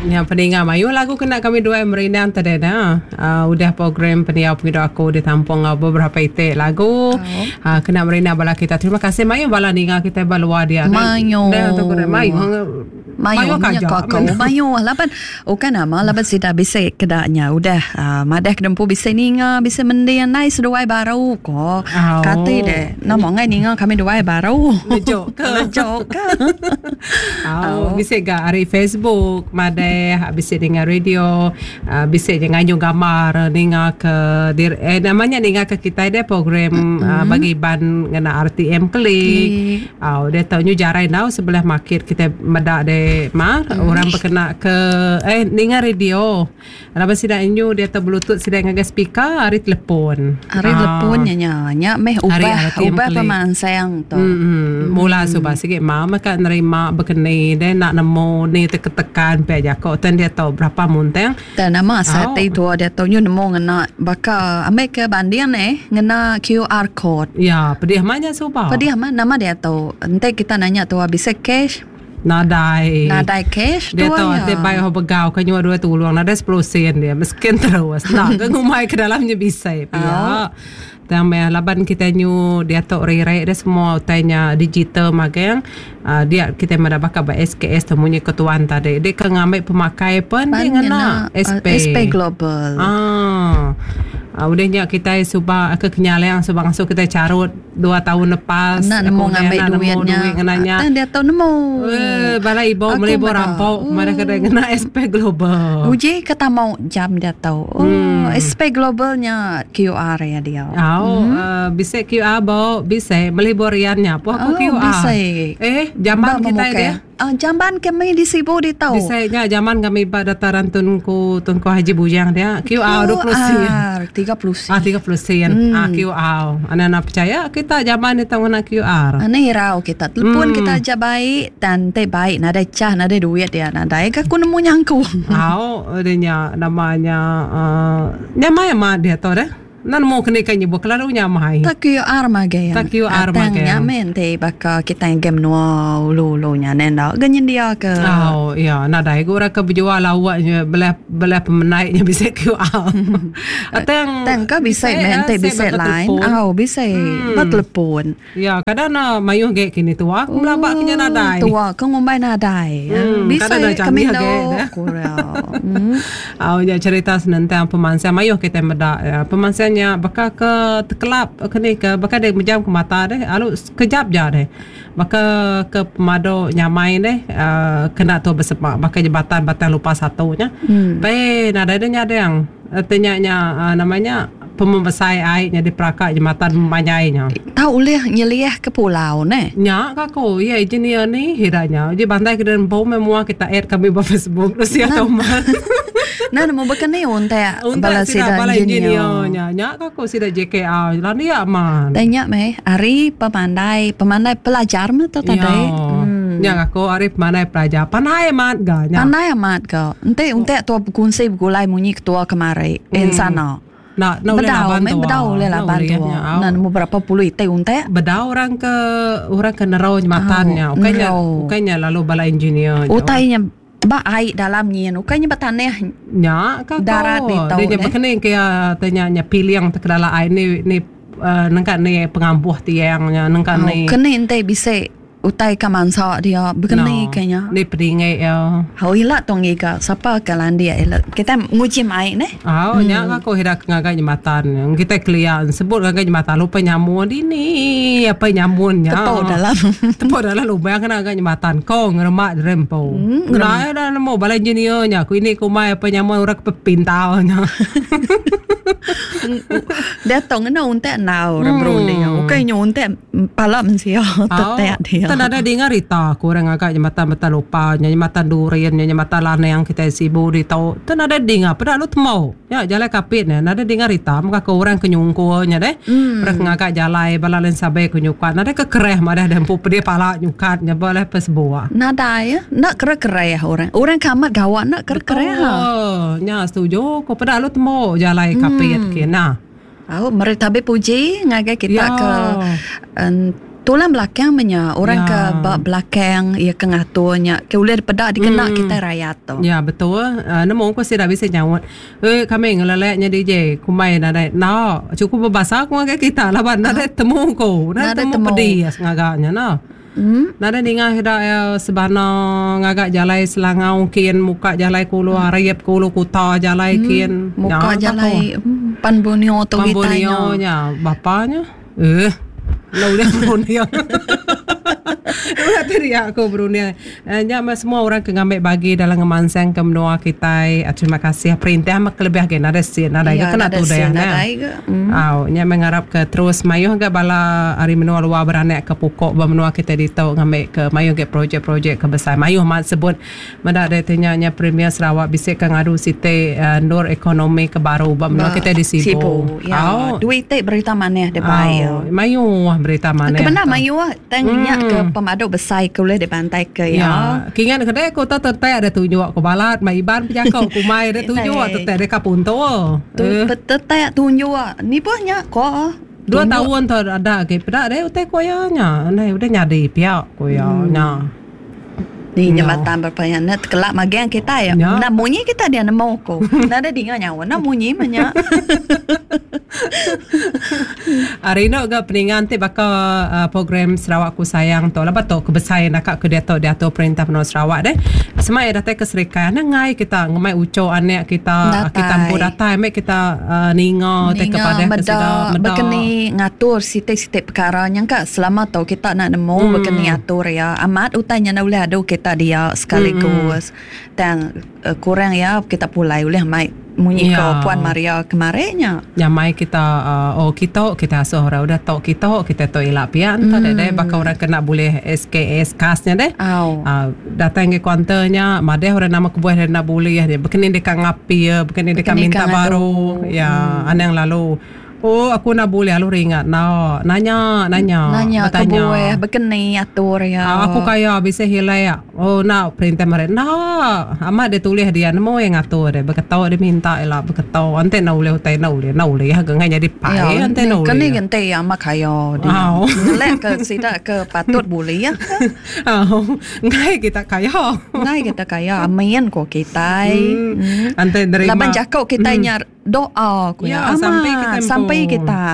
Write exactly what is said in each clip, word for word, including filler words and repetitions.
Yang peninga mayu lagu kena kami dua merindang tadi dah. Uh, udah program pendiau pengidu aku ditampung uh, beberapa itik lagu. Oh. Uh, kena merindang bala kita. Terima kasih mayu bala ninga kita balua dia. Mayu. Dah tu kena mayu. Mayu kaja. kau mayu laban bukan nama laban sida bisa kedaknya udah uh, madah kedempu bisa ninga bisa mending nai seduai baru ko. Oh. Kati deh nama ngai ninga kami duai baru. Lejuk ke? Lejuk ke? Oh, bisa ga hari Facebook madeh bisa dengar radio, uh, bisa je nganyung gambar ninga ke dir, eh, namanya ninga ke kita dia program mm-hmm. uh, bagi ban ngena R T M klik. Oh, dia tahu nyu jarai nau sebelah market kita medak de mar mm. orang berkena ke eh ninga radio. Laban sida nyu dia tahu bluetooth sida ngagai speaker hari telefon. Hari telefon nya nya nya meh ubah ubah pemansang tu. Hmm. Mula subah sikit mau maka nerima berkeni dia nak nemu ni tekan pe jako ten dia tahu berapa munteng. Dan nama sate tu dia tahu nyu nemu ngena baka ambil ke banding eh ngena Q R code. Ya, pedih mana subah. Pedih mana nama dia tahu. Nanti kita nanya tu bisa cash. Nadai. Nadai cash dia tahu dia bayar begau ke nyua dua tulung nadai sepuluh sen dia miskin terus. Nak ke ngumai ke dalamnya bisa ya. Dan meh laban kita nyu dia tok rere dia semua utainya digital magang. Uh, dia kita mada bakal ba S K S temunya ketuan tadi. Dia ke ngambil pemakai pun dia ngena S P. S P Global. Ah. Uh, udahnya kita subah ke kenyaleang subah ngasuh kita carut dua tahun lepas. Nak nemu ngambil duitnya. Duit dia tahu nemu. Eh, bala ibu beli rampok, uh. Mana kena kena S P Global. Uji kata mau jam dia tahu. Oh, hmm. S P Globalnya Q R ya dia. Oh, hmm. uh, bisa Q R bo, bisa beli boriannya. Apa aku oh, Q R? Bisa. Eh, jamban kita dia. Uh, jamban kami di Sibu di tahu. Bisa nya zaman kami pada dataran tunku tunku Haji Bujang dia Q R dua puluh sen. tiga puluh sen. Ah tiga puluh sen. Hmm. Ah Q R. Anak-anak percaya kita zaman itu ngena Q R. Ane hirau kita. Telepon hmm. kita aja baik dan te baik nada cah nada duit dia nada. Aku nemu nyangku. Au dia namanya uh, nyamai mah dia tahu deh. Nan mau kena kan nyebut kelalu nyamai. Tak Q R magai. Tak Q R magai. Nyamen te baka kita yang game nua ulu ulu nya nenda. Ganyan dia ke. Oh ya, nadai gua ke berjual lawaknya belah belah pemenaiknya bisa Q R. Atang tang ka bisa men te bisa lain. Oh bisa bertelepon. Ya, kadang na mayuh ge kini tua, aku melabak kenya nadai. Tua ke ngumbai nadai. Bisa kami ndo. Oh ya cerita tentang pemansang mayuh kita medak pemansang nya bakal ke terkelap ke ni ke bakal dia menjam ke mata deh alu sekejap je deh bakal ke pemado nyamai deh uh, kena tu bersepak bakal jembatan batang lupa satunya hmm. Pe nada dia nyadang artinya uh, namanya pemembesai airnya di perakak jembatan memanyainya. Tahu boleh nyeliah ke pulau ne? Nya kako, ya engineer ni hiranya. Jadi bantai ke dalam bom semua kita add kami ba Facebook terus ya teman. Nah, nemu bekene unta bala sida engineer. Nya nya kako sida J K R. Lah ni aman. Tanya meh, ari pemandai, pemandai pelajar mah tu tadi. Hmm. Nya kako ari pemandai pelajar. Pandai amat ga nya. Pandai amat ga. Ente unta tua berkongsi bergulai munyi ketua kemari hmm. Insana. Nak nak boleh laban tu. Bedau boleh laban tu. Nah, nemu berapa puluh ite unta? Bedau orang ke orang ke nerau jembatannya. Bukannya bukannya lalu bala engineer. Utainya ba air dalam nyin, bukannya bataneh. Nya ka darat di tau. Dia berkening ke tanya nya piliang terkedala air ni ni nengkat ni pengampuh tiangnya nengkat ni. Kene ente bisa utai ka mansa dia begini kayaknya. Ni pedingai ya. Hau ila tong iga sapa ka landia ila. Kita nguji mai ne. Oh, nya aku hira ngagai jembatan. Kita clear sebut ngagai jembatan lupa nyamun ini apa nyamunnya. Tepuk dalam. Tepuk dalam lubang kena ngagai jembatan. Ko ngeremak rempo. Nah, dah nemu bala engineer nya. Ku ini ku mai apa nyamun orang pepintau nya. Dia tong ngena untek nau rembru dia. Ukai nyu untek pala mensia tetek dia. Tak ada dengar rita aku orang agak jembatan betal lupa jembatan durian jembatan lanang kita sibu di tau. Tak ada dengar pada lu temu. Ya jalan kapit ni ada dengar rita maka ke orang kenyungkunya deh. Hmm. Orang ngagak jalan bala len sabe kenyukat. Nada ke kereh madah dempu pedih pala nyukat nya boleh pesbuah. Nada ya nak kereh-kereh orang. Orang kamat gawat nak kereh-kereh ha. Oh, nya setuju ko pada lu temu jalan kapit Hmm. ke nah. Oh, meri tabi puji ngagai kita Ya. ke um, Tulang belakang menya orang Ya. ke ba belakang ia ke ngaturnya ke ulih peda dikena Hmm. kita rakyat tu. Ya betul. Uh, nemu aku sih dah bisa nyaut. Eh kami ngeleleknya D J kumai nadai. No, cukup berbahasa aku ngagai kita laban nadai temu ku. Nadai Nadai temu temu. pedih ngagaknya no. Hmm. Nadai ninga hida ya sebana ngagak jalai Selangau kian muka jalai kulu hmm. Arab kulu kuta jalai hmm. kian. Muka Ya, jalai hmm, Pan Borneo tu Pan kita Borneo nya bapanya. Eh, lau dia Borneo. Ulah tadi aku Borneo. Eh, nya mah semua orang ke ngambil bagi dalam ngemansang ke menua kita. Eh, terima kasih perintah mah kelebih ge nadai sin nadai Ya, ke kena nadai tu sin, dah. nadai ke. Hmm. Au, nya mengharap ke terus mayuh ke bala hari menua luar beranak ke pokok ba menua kita ditu ngambil ke mayuh ke projek-projek ke besar. Mayuh mat sebut mendak dia tanya nya Premier Sarawak bisik ke ngadu site uh, nur ekonomi ke baru ba menua kita di Sibu. Sibu. Ya, Au. duit te berita maneh dia baik. Au, mayuh berita maneh. Kebenar mayuh tang nya ke pemadu besar ke boleh dibantai ke ya. Ya, kingan kedai aku tak tertai ada tunjuk aku balat, mai iban pejakau aku mai ada tunjuk Eh. tertai dekat punto. Tu Eh, tetai tunjuk ni pun nya ko. dua tahun tu ada ke pedak deh utai koya nya. Nah, udah nyadi piak koya nya. Ni jambatan berpanjang net kelak magang kita ya. Ya. Nak bunyi kita dia nemu ko. Nak ada dengar nyawa nak bunyi menya. Hari ni ke peningan ti bakal uh, program Sarawakku Sayang tu. Lepas tu kebesaran nak ke dia tu dia tu perintah penuh Sarawak deh. Semai datang ke Serikai na ngai kita ngemai uco anak kita Datai. kita empu datai mek kita uh, ninga te kepada ke sida meda bekeni ngatur sitik-sitik perkara nya ka selama tu kita nak nemu hmm. bekeni atur ya. Amat utanya nak boleh adu kita dia sekaligus. Hmm. Dan uh, kurang ya kita pulai boleh mai munyi Ya. ko Puan Maria kemarinnya. Nyamai kita uh, oh kita kita asuh orang udah tok kita kita tok ilak pian mm. tak deh bakal orang kena boleh S K S kasnya deh. Au. Uh, datang ke kuanternya madeh orang nama kebuah dia nak boleh dia bekeni dekat ngapi ya bekeni dekat Bekeni minta kat baru ngadu. ya hmm. anang lalu oh aku nak boleh lalu ringat no nanya nanya Nanya bertanya. kebuah bekeni atur ya. Ah, aku kaya bisa hilai ya. Oh nak perintah mereka. Nah, amat dia tulis dia nemu yang ngatur dia. Berketau dia minta lah berketau. Ante nak boleh utai nak boleh nak boleh. Harga ngai jadi pai ante nak Kan ni boleh. gente ya mak kaya dia. Au. Ngelek ke sidak ke patut boleh ya. Oh, ngai kita kaya. Ngai kita kaya amin ko kita. Hmm. Ante nerima. Laban cakap kita nya doa ko Ya, ya. sampai Amat, kita sampai empu. kita.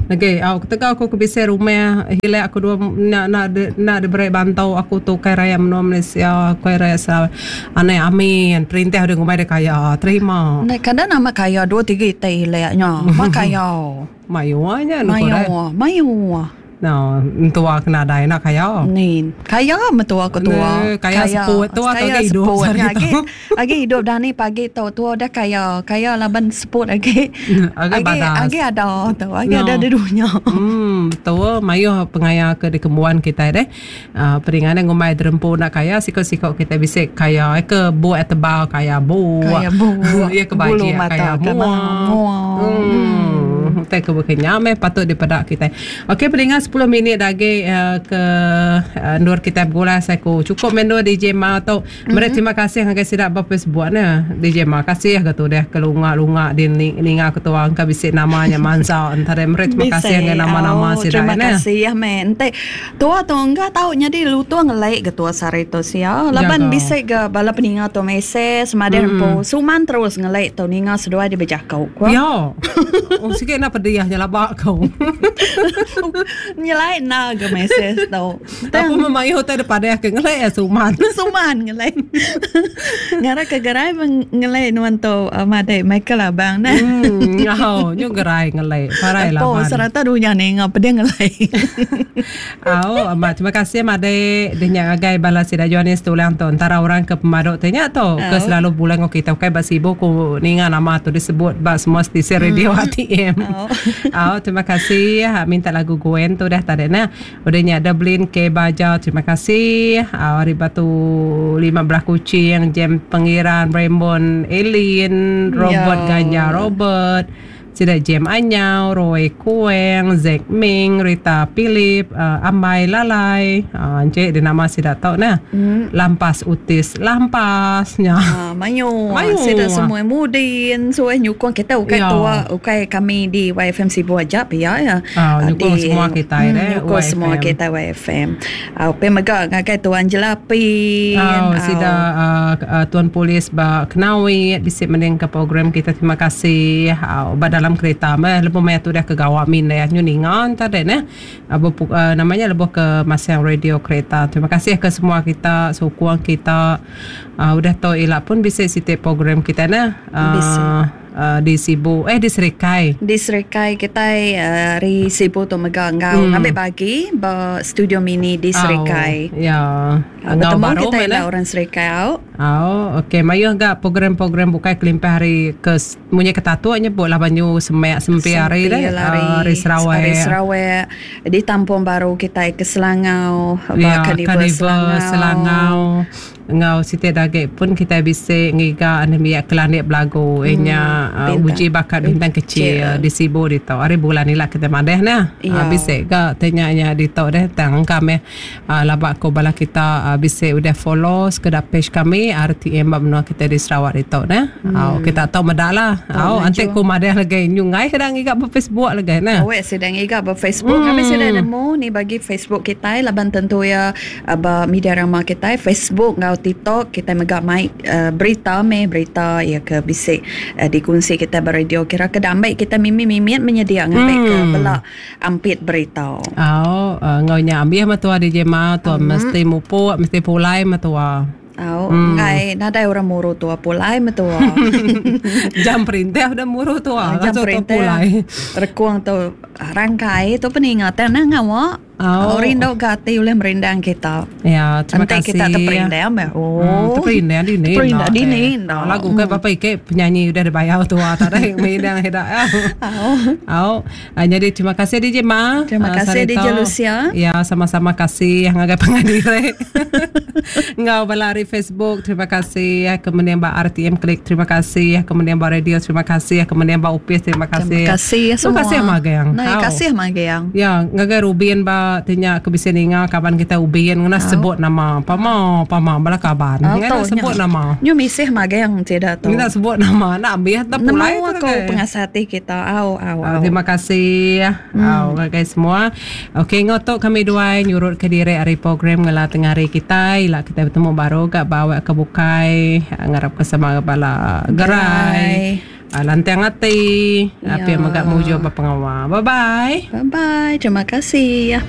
Okey, au ketika aku ke bisa rumah hilai aku dua nak nak de, nak diberi bantau aku tu kai raya menua Malaysia, kai raya Sarawak. Aneh amin. Perintah udah ngumai dia kaya. Terima. Nah, kadang nama kaya dua tiga itai hileknya. Mak kaya. Mayu aja nu kore. Mayu, mayu. No, tua kena dai nak kaya. Ni, kaya metua aku tua. Ne, kaya seput tua atau kaya lagi hidup seput. sehari Lagi, tu. lagi hidup dah ni pagi tu tua dah kaya. Kaya laban seput lagi. Lagi badas. Lagi ada tu, lagi No. ada di dunia. Hmm, betul. Mayuh pengaya ke di kembuan kita deh. Uh, peringan ngumai derempu nak kaya, sikok-sikok kita bisa kaya. Eh, ke buat tebal kaya bu. Kaya bu. Ya ke Bulu baju mata kaya ke mua. mua. Hmm. Tak ke berkenyam eh patut dipedak kita. Okey, pendengar sepuluh minit lagi uh, ke uh, nur kita bergula saya ku. Cukup mendo D J Ma tu. Mereka terima kasih ngagai sidak bapa Facebook ne. D J Ma kasih ke tu dah ke lunga-lunga di ninga ketua angka bisik namanya Mansa antara mereka terima kasih dengan nama-nama Oh, sidak terima ne. kasih ya men. Ente tua tu enggak tahu nya di lutu ngelek ke tua sari tu sia. Laban Jaga. bisik ke bala peninga tu mesej semadir mm. po. Suman terus ngelek tu ninga seduai di bejakau. Ku. Ya. Oh sikit nak pediah je labak kau. Nyelai na ke mesej tu. Aku memayu hotel depan dia ke ngelek ya suman. Suman ngelek. Ngara ke gerai ngelek nuan tu uh, madai Michael abang nah. Hmm, ngau, nyu gerai ngelek. Parai lah. Po serata dunia ni ngapa dia ngelek. Au, amat terima kasih madai dia nyak agai bala sida Johannes tulang tu antara orang ke pemaduk tanya tu ke selalu bulan ngau kita kai basibo ku ninga nama tu disebut ba semua stesen radio A T M. Au. Au, terima kasih ha, minta lagu Gwen tu dah tadi nah. Udah nyak ada Blin ke Baja terima kasih. Au hari batu lima belah kucing Jem Pengiran Raymond Elin Robert Ya. Ganja Robert Sida Jem Anyau, Roy Kueng, Zack Ming, Rita Philip, uh, Ambai Lalai. Uh, encik di nama sida tau nah. Hmm. Lampas Utis, Lampas nya. Ah, mayu. Mayu. Sida semua mudin, suai nyukung kita ukai Ya. tua, ukai kami di Y F M Sibu aja pia ya. Ah, nyukung Di- semua kita hmm, deh, nyukung Y F M. semua kita Y F M. Ah, pe mega ngagai Tuan Jelapin. Oh, sida uh, uh, Tuan Polis ba Kenawi bisi mending ke program kita, terima kasih. Uh, ba dalam kereta meh lebuh maya tu dah ke gawak min dah nyu ninga entar deh neh. Uh, berpu, uh, namanya lebuh ke masang radio kereta. Terima kasih ke semua kita, sokong kita. Uh, udah tu ila pun bisi siti program kita neh. Uh, Bisi. Uh, di Sibu, eh di Serikai. Di Serikai kita uh, hari Sibu tu mega ngau Hmm. ngambil bagi ba studio mini di Serikai. Oh, ya. Uh, Ngau bertemu baru kita mana? ila orang Serikai au. Oh, okey. Mayuh gak program-program bukai kelimpah hari ke munyi ketatu nyebut lah banyu semek sempi hari deh. Hari, Hari Sarawak. Hari Sarawak. Di Tampung baru kita ke Selangau, ba Ya, Carnival Carnival Selangau. Selangau. Ngau siti dagik pun kita bisa ngiga anemia kelanik belagu. Hmm, Enya uh, bintang. uji bakat bintang kecil, Kecil. di Sibu di tau. Hari bulan ni lah kita madeh nah. Ya. Uh, bisa ga tanya nya di tau deh tang kami uh, labak ko bala kita uh, bisa udah follow sekedar page kami R T M bab menua kita di Sarawak di tau nah. Hmm. Uh, kita tahu medak lah. Uh, maju. antik ko madeh lagi nyungai sedang ngiga ber Facebook lagi nah. Awek sedang iga ber Facebook. Hmm. Kami sedang nemu ni bagi Facebook kita laban tentu ya ba media rama kita Facebook ngau TikTok kita mega mai uh, berita me berita ya ke bisik uh, dikongsi kita beradio kira ke damai kita mimi-mimi menyedia ngambil hmm. ke bela ampit berita. Oh, uh, ngau nya ambil matua di jema tua hmm. mesti mupuk mesti pulai matua. Oh, hmm. ngai nadai orang muru tua pulai metua. Jam perintah udah muru tua, Jam langsung tua perintah. pulai. Rekuang tu rangkai tu peningatan nah ngawa. Oh. Oh. Rindu gati oleh merindang kita. Ya, terima Nanti kasih. kita terperindang ya. Oh. Hmm, terperindang di ni. Terperindang di ni. Oh, lagu ke bapa ike penyanyi udah dibayar tua tak ada yang merindang hedak. Oh. Oh, jadi terima kasih D J Ma. Terima Ah, kasih Sarito. D J Lucia. Ya, sama-sama kasih yang agak pengadire. Ngau balari Facebook, terima kasih. Kemudian Mbak R T M Klik, terima kasih. Kemudian Mbak Radio, terima kasih. Kemudian Mbak Upis, terima kasih. Terima kasih semua. Terima kasih Magyang. Nah, Au. kasih Magyang. Ya, ngagai Rubin ba tinya kebisian inga kaban kita Ubin ngena sebut nama. Pama, pama bala kaban. Oh, Ngena tau, sebut nya. nama. Nyu misih Magyang tidak tu. Ngena sebut nama. Nak ambil tak pulai Nemu tu aku ngagai. pengasati kita. Au au Uh, au. terima kasih hmm. uh, guys semua. Okey, ngotok kami dua nyurut ke diri hari program ngela tengah hari kita. Ila kita bertemu baru gak bawa ke bukai ngarap ke sama bala gerai. Uh, lantang hati. Ya. Apa yang megak muju apa pengawal. Bye bye. Bye bye. Terima kasih.